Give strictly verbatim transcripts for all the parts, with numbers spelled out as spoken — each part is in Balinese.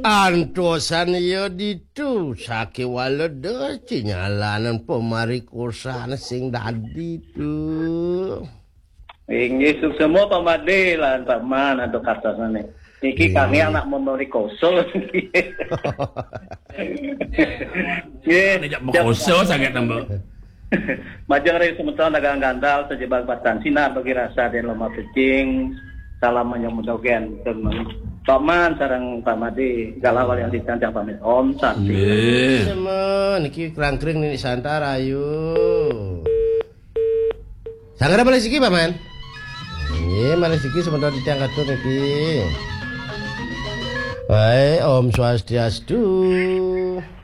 Antosan ya ditu sakéwala da cinyalanan pamarikosan sing dadi tu. Inggih, suksma Pak Madé lan Pak Man antuk kartosané. Niki Inggih. Kami anak memerikosa. Nggih. Ngajak mekosa sanget, Mbok. Majeng ring semeton dagang gantal, sejebak batan sinar bagi rasa dan lemah pecing. Salam menyambut dogen. Pak Man sareng Pak Madé, kala walian titiang pamit. Om Santi. Nggih. Sama, niki kerangkring nini santar, ayo. Sanggra malih siki, Paman? Nggih, malih siki semeton titiang katur niki. Baik, Om Swastiastu.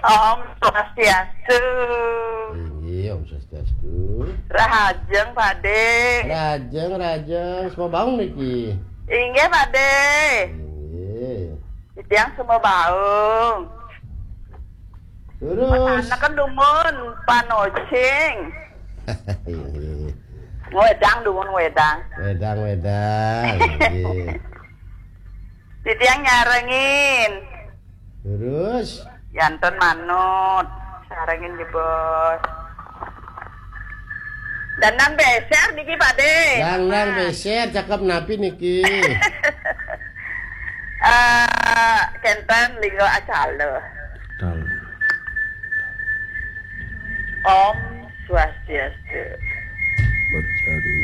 Om Swastiastu. Inggih, Om Swastiastu. Rahajeng, Pak Dé. Rahajeng, rahajeng. Semabaung niki. Inggih, Pak Dé. Inggih. Titiang semabaung. Terus. Pasaneken dumun panocing. Inggih. Ngwedang dumun ngwedang. Wedang, wedang. Inggih. Titiang nyarengin. Terus. Janten manut. Sarengin jebos. Dangdang beser niki, Pak Dé. Dangdang beser, cakep napi niki? Eh, kenten Lingga Acala. Tal. Om Swastiastu. Bacari.